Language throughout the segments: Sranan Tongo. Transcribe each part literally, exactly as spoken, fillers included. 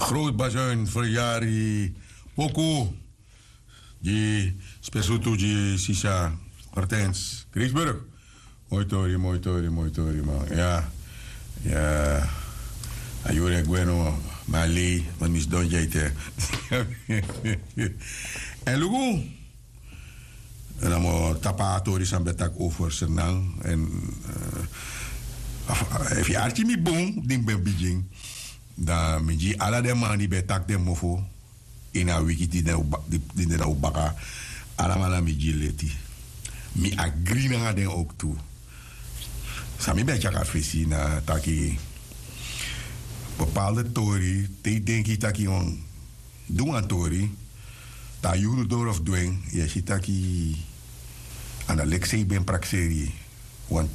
Groot Bazuin, verjari poku. Gi spesrutu gi sisa Hortens Kreisburg. Moi tori, moi tori, moi tori, man. Ya. Ya. A yuru e gwe no, ma lei, ma mi sidon gi a ete. En luku. Namo tapu a tori san ben taki over Sranan. En, eh, efu yu arki mi bun, di mi ben bigin, dan mi gi ala den man di ben taki den mofo ini a wiki di den o ba-, di, di den o baka, alamala mi gi leti. Mi agri nanga den ook tu. San mi ben e tyari na fesi na taki bepaalde tori, te yu denki taki yu wani du wan tori, te a yuru doro fu du en, yu e si taki a no leki san yu ben prakseri. Want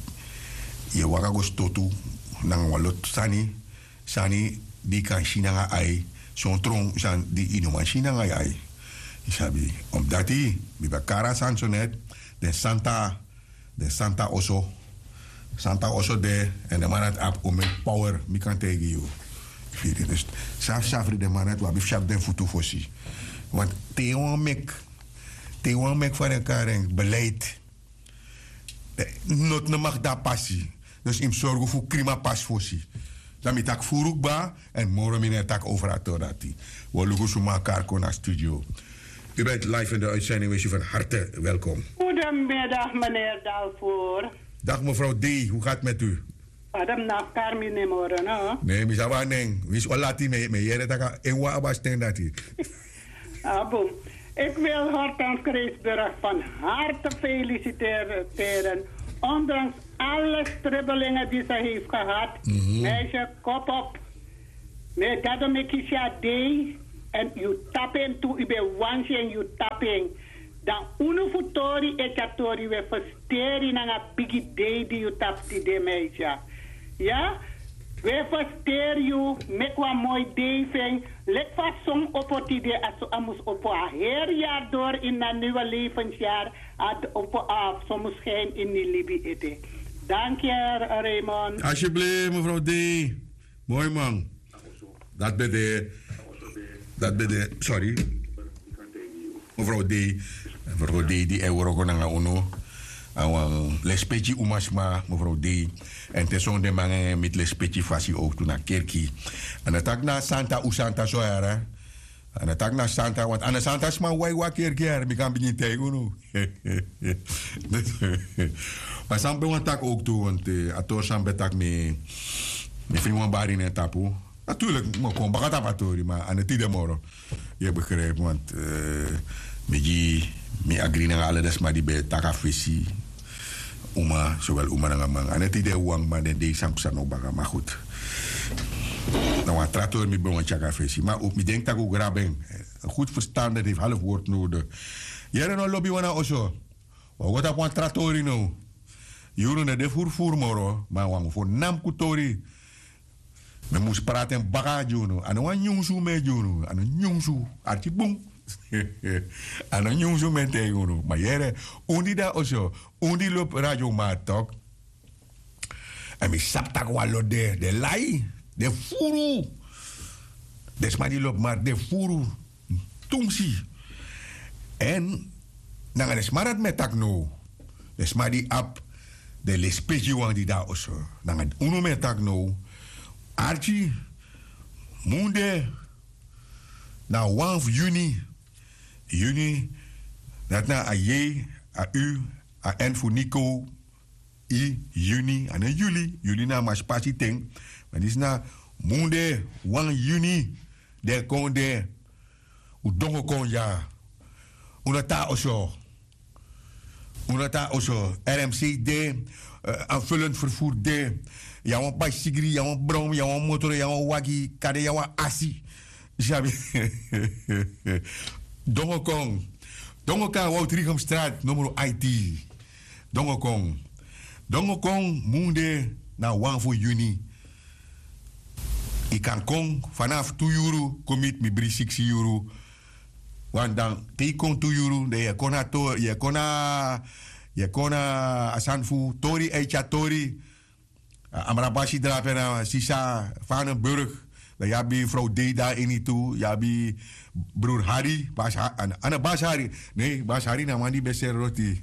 yu e waka go stotu nanga wan lotu sani, sani di yu kan si nanga yu ai, son tron sani di yu no man si nanga yu ai. Yu sabi, omdati mi ben kari a sani so net, den santa, den santa oso. Santa oso de, en den man dati abi omeni power, mi kan taigi yu. Yu firi? Dus safsafri den man dati, wi abi fu si abi den futu fosi. Want te yu wani meki, te yu wani meki fa den kari en, beleid, eh, noti no mag de na pasi. Dus yu mus sorgu fu krimi a pasi fosi. Dan mi taki furu kba, en moro mi no e taki over a tori dati. Wi o luku suma a kari kon na studio. U bent live in de uitzending, wees u van harte welkom. Goedemiddag, meneer Dalvoer. Dag mevrouw D, hoe gaat het met u? Adam na kari mi nen moro, no? Nee, mi sabi a nen. Winsi o lati, mi e, mi e yere taki en wan abi a sten dati. Abum. Ik wil Hortense Kreisburg van harte feliciteren. Ondanks alle strubbelingen die ze heeft gehad. Mhm. Meisje, kop op. Mi e dado meki si a dei, èn yu tapu en tu, yu ben wani si en, yu tapu en. Dan unu fu tori e tyari tori, wi e festeri nanga bigi dei di yu tapu tide, meisje. Ya? Wi e festeri yu, meki wan moi dei fu en. Leki fa son opo tide, a so a mus opo a heri yari doro ini a niwe levensyari, a opo a son mus schijni ini libi ete. Danki, Raymond. Alsjeblieft, mevrouw D. Moi man. Dati ben de, dati ben de, sorry. Mevrouw D, mevrouw D di e wroko nanga unu. A wan lespeki umasma, mevrouw D. Èn te son den man e miti lespeki fasi ook tu na kerki. A no taki na santa, un santa so yara. A no taki na santa, want a no santa sma wai wan kerki yara, mi kan bigin taigi unu. Ma san mi ben wani taki ook tu, want, eh, a tori san mi ben taki, mi, mi fri wan bari na en tapu. Natuurlijk, mi o kon baka tapu a tori, ma a no tide moro. Yu e begrijp, want, eh, mi gi, mi agri nanga ala den sma di ben taki a fesi. Uma, zowel uma nanga man. A no tide wan, ma den dei san psa no baka, maar goed. Na wan tra tori mi ben wani tyari a fesi. Ma mi denki tak' un grabu en. Een goed verstander heeft half woord nodig. Yere no lobi wan na oso. Wi o go tapu wan tra tori now. Yuru no de furfuru moro, ma wan voornaam tori. Mi mus prati en baka gi unu. A no wan nyunsu mi e gi unu. A no nyunsu. Arki bun. A no nyunsu mi e taigi unu. Ma yere, un di de na oso, un di lobi Radio Markt tok. Èn mi sabi tak' wan lot de, den lai, den furu. Den sma di lobi markt, den furu. Tumsi. Èn nanga den sma dati mi e taki now. Den sma di abi den lespeki wan di de na oso. Nanga unu mi e taki now. Arki, munde na wan fu yuni. Yuni, dati na a J, a U, a N fu Nico, I, yuni, a no yuli, yuli na a maspasi ten. Ma disi na munde, wan yuni, den kon de, un dongo kon dya. Un no tan na oso. Un no tan na oso. R M C de, eh, aanvullend vervoer de. Yu abi wan baisigri, yu abi wan brom, yu abi wan motor, yu abi wan wagi, kande yu abi wan asi. Sabi. Dongo kon. Dongo kon, Wout Riegumstraat, nummer I T. Dongo kon. Dongo kon, munde na wan fu yuni. Yu kan kon, vanaf tu yuru, kon miti mi, bri siksi yuru. Want dan, te yu kon tu yuru, dan yu e kon na to-, yu e kon na, yu e kon na a sani fu tori, e tyari tori. A Amrabashi drape na sisa Vanenburg. Dan yu abi frow dei dan ini tu, yu abi brur hari, basi hari. Nei, basi hari na a man di ben seri roti.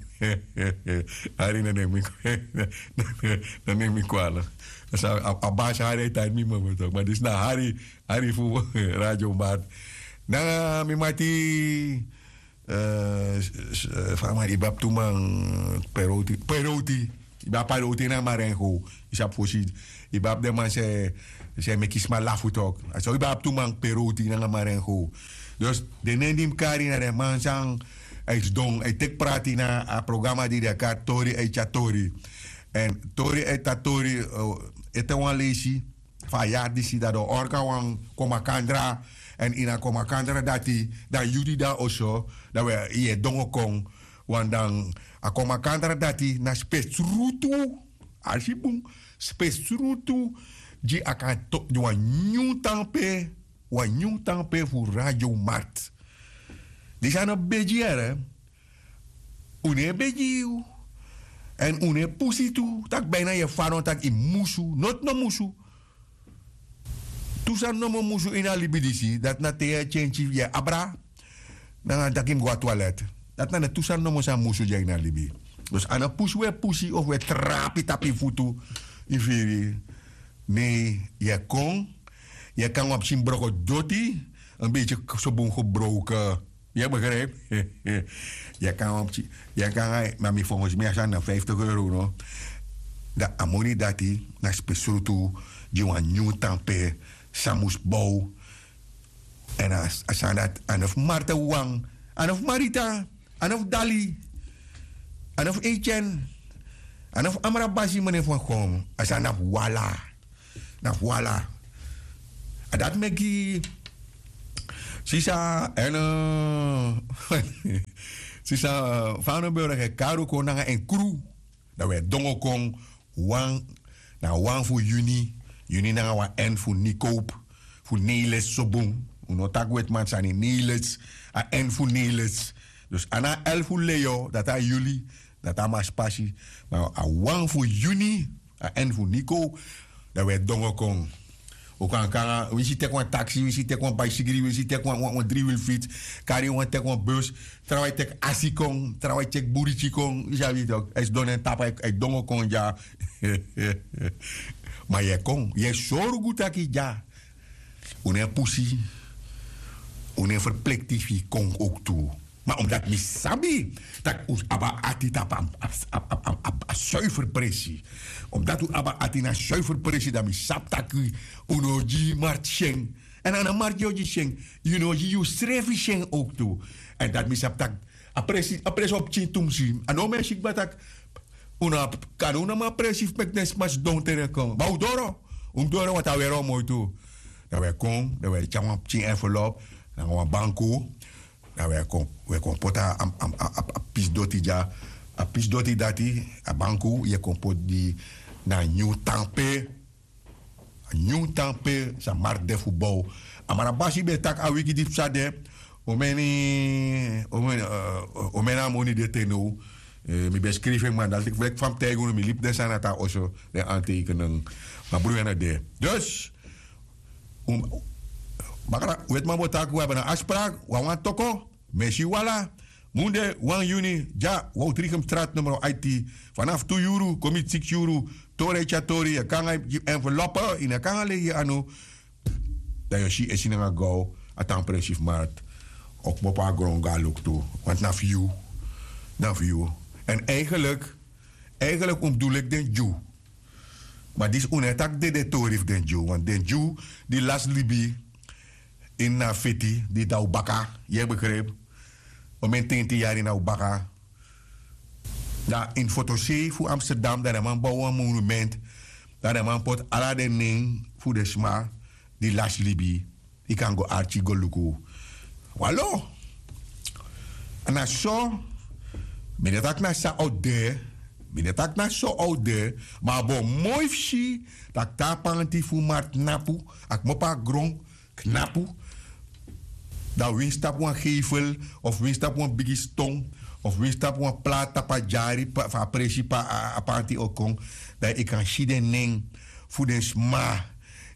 Hari na nen mi kwala. Na nen mi kwala. A basi hari e tan ini mi mama tok, ma disi na hari. Hari fu radio mart. Nanga mi mati. Fa a man, yu ben abi tu man, peroti peroti. Yu ben abi paroti nanga marengo. Yu sabi fosi, yu ben abi den man se, se meki sma lafu tok. A so yu ben abi tu man, peroti nanga marengo. Dus den nen di mi kari na den man san a e sidon a e teki prati na a programa di den e kari tori e tyari tori. Èn tori e tyari tori, ete wan leisi fu a yari disi dati o orga wan komakandra. Èn ini a komakandra dati, dan yu di de na oso, dan wi e dongo kon. Wan dan a komakandra dati na spesrutu. Alsi bun. Spesrutu gi a kan toki gi wan nyun tanpe. Wan nyun tanpe fu radio mart. Disi a no begi yere. Un no e begi yu. Èn un no e pusi tu tak' bina yu e fano tak' yu musu noti no musu. Tu sani nomo musu ini a libi disi dati na te yu e tyentyi yu e abra. Nanga taki mi go na twalet. Dati na den tu sani nomo san musu dya ini a libi. Dus a no pusi un e pusi of un e trapi tapu yu futu. Yu firi? Nei, yu e kon. Yu e kon wan pikin broko doti. En beiti so bun gebroke. Yu e begripi? Yu e kon wan pikin, yu e kon anga, ma mi fongosi mi a sani na fiftig euro no. Dan a moni dati na spesrutu gi wan nyun tanpe san mus bow. Èn a sani dati a no fu marta wawan. A no fu marita. A no fu dali. A no fu etyen. A no fu amrabasi mene fu a kon a sani na fu wala. Na fu wala. A dati meki sisa èn sisa, fa a no ben wreke karu kon nanga en kru. Dan wi e dongo kon wan na wan fu yuni. Yuni nanga wan èn fu nikowpu fu neilets so bun. Un no taki wetiman sani neilets. A èn fu neilets. Dus a na a èl fu leyo dati a yuli. Dati a maspasi. Ma a wan fu yuni a èn fu niko. Dan wi e dongo kon. Un kan kon nanga winsi teki wan taksi winsi teki wan baisigri winsi teki wan dri wil fits. Kari wan teki wan bus. Trawan e teki asi kon trawan e teki buriti kon yu sabi tok a e sidon na en tapu a e dongo kon dya. Ma yu e kon yu e sorgu tak' yu dya. Un no e pusi. Un no e ferplekti fu yu kon owktu. Ma omdati mi sabi tak' un abi a ati tapu a suifer presi. Omdati un abi a ati na suifer presi dan mi sabi tak' un no o gi yu marti syen. Èn a no marti yu o gi syen. Yu no o gi yusrefi syen owktu. Èn dati mi sabi tak' a presi a presi o pikin tumsi a no o men si kba tak' un no abi kande un no man presi fu meki den sma sidon tere kon ma un doro. Un mus doro want a weri o moi tu. Dan wi e kon dan wi e tyari wan pikin envelop nanga wan banku. Dan wi e kon wi e kon poti a pisi doti dya. A pisi doti dati a banku yu e kon poti gi na a nyun tan pe. A nyun tan pe san mark de fu bow. A marabasi ben e taki a wiki di psa de. Un meni un meni a moni de te now. Mi ben skrifi en man dati leki fa mi taigi unu mi libi den sani na tan oso den anteikenen. Ma bruya no de dus. Bakra wetiman bo taki un abi na asprak wawan toko. Mesi wala. Munde wan yuni dya wowtrigemstrat numero aiti. Fanafu tu yuru kon miti siksi yuru. Tori e tyari tori yu e kon nanga yu enveloppe yu no e kon nanga legi anu. Dan yu o si esi nanga gow a tan presi fu markt. O kmopo na gron go na luku tu. Wantu na fu yu. Na fu yu. Èn eigenlik eigenlik un mus du leki den dyu. Ma disi un no e taki dede tori fu den dyu wantu den dyu di lasi libi ini na feti di de na un baka. Yu e begripi? Omeni tenti yari na un baka. Dan ini fotosei fu amsterdam dan den man bow wan monument. Dan den man poti ala den nen fu den sma di lasi libi. Yu kan go arki go luku. Walo. Na so. Mi no taki na san out de. Mi no taki na so out de. Ma a bo moi fu si tak' te a panti fu marti knapu a kmopo na gron knapu. Dan winsi tapu wan geifel of winsi tapu wan bigi ston of winsi tapu wan plati tapu a dyari fu a presi pe a panti o kon. Dan yu kan si den nen fu den sma.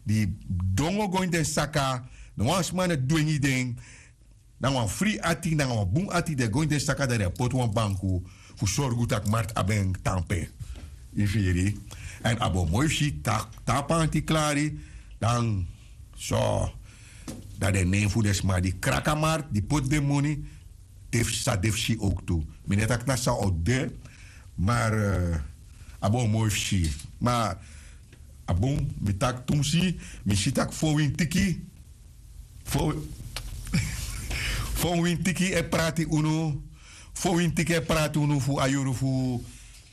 di dongo go ini den saka. No wan sma no dwengi den. Nanga wan fri ati nanga wan bun ati den go ini den saka dan den e poti wan banku fu sorgu tak' marti abi en tampe. Yu firi? Èn a bo moi fu si tak' te a panti klari dan so dan den nen fu den sma di kraki a marti di poti den moni de fu sa de fu si owktu. Mi no e taki na san o de. Mar a bo moi fu si. Ma a bun mi taki tumsi mi si taki fowintiki fowintiki e prati unu fowintiki e prati unu fu a yuru fu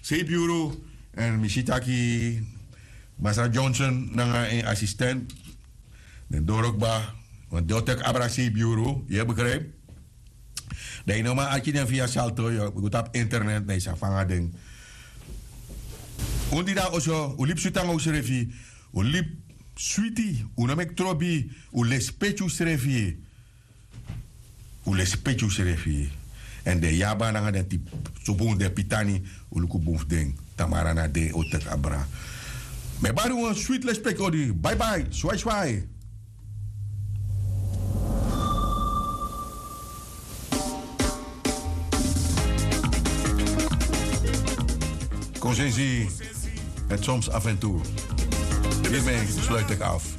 seibi yuru. Èn mi si taki masra johnson nanga en asistent den doro kba. Want den o teki abra seibi yuru yu e begrijp. Dan yu no man arki den fu yu a salto yu go tapu internet dan yu sa fanga den. Un di de na oso un libi switi nanga unsrefi. Un libi switi. Un no meki trobi. Un lespeki unsrefi. Un lespeki unsrefi. Èn den yaba nanga den tipi sobun den pitani. Un luku bun fu den. Tamara na de o teki abra. Mi e bari un wan switi lespeki odi baibai swai swai. Konsensi. Het soms af en toe. Hiermee sluit ik af.